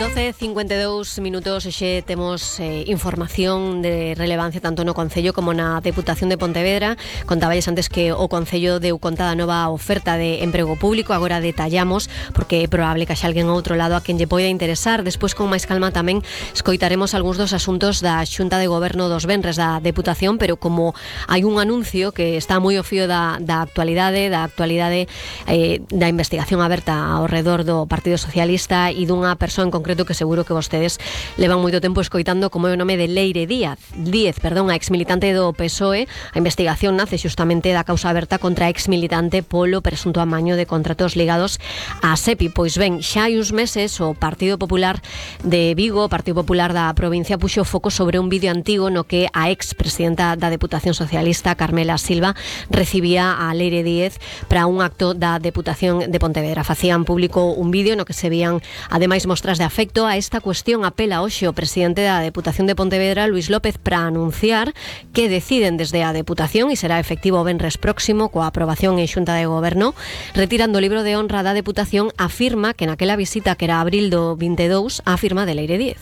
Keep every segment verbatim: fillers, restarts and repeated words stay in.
doce e cincuenta e dous minutos e xe temos eh, información de relevancia tanto no Concello como na Deputación de Pontevedra. Contaballes antes que o Concello deu conta da nova oferta de emprego público. Agora detallamos porque é probable que haxa alguén ao outro lado a quen lle poida interesar. Despois, con máis calma, tamén escoitaremos algúns dos asuntos da Xunta de Goberno dos venres da Deputación, pero como hai un anuncio que está moi ao fío da, da actualidade, da actualidade eh, da investigación aberta ao redor do Partido Socialista e dunha persoa en concreto que seguro que vostedes levan moito tempo escoitando, como é o nome de Leire Díaz, Díez, perdón, a exmilitante do P S O E. A investigación nace xustamente da causa aberta contra a exmilitante polo presunto amaño de contratos ligados á SEPI. Pois ben, xa hai uns meses o Partido Popular de Vigo, o Partido Popular da provincia, puxo foco sobre un vídeo antigo no que a ex-presidenta da Deputación Socialista, Carmela Silva, recibía a Leire Díez para un acto da Deputación de Pontevedra. Facían público un vídeo no que se vían ademais mostras de afecto. A esta cuestión apela hoxe o presidente da Deputación de Pontevedra, Luís López, para anunciar que deciden desde a Deputación, e será efectivo o venres próximo coa aprobación en Xunta de Goberno, retirando o libro de honra da Deputación. Afirma que naquela visita que era abril do vinte e dous, a firma de Leire Díez.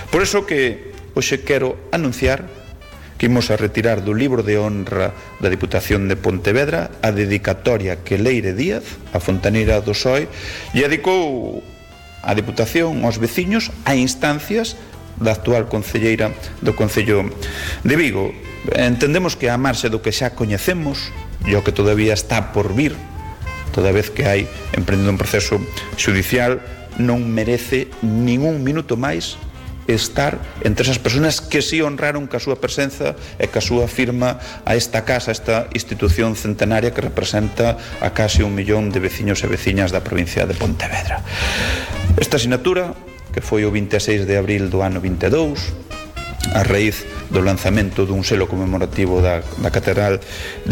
Por eso que hoxe quero anunciar que imos a retirar do libro de honra da Deputación de Pontevedra a dedicatoria que Leire Díaz, a fontaneira do P S O E, lle dedicou a Deputación aos veciños a instancias da actual concelleira do Concello de Vigo. Entendemos que a marxe do que xa coñecemos e o que todavía está por vir, toda vez que hai emprendido un proceso xudicial, non merece ningún minuto máis estar entre esas persoas que si honraron ca súa presenza e ca súa firma a esta casa, a esta institución centenaria que representa a case un millón de veciños e veciñas da provincia de Pontevedra. Esta asignatura, que foi o vinte e seis de abril do ano vinte e dous, a raíz do lanzamento dun selo conmemorativo da, da Catedral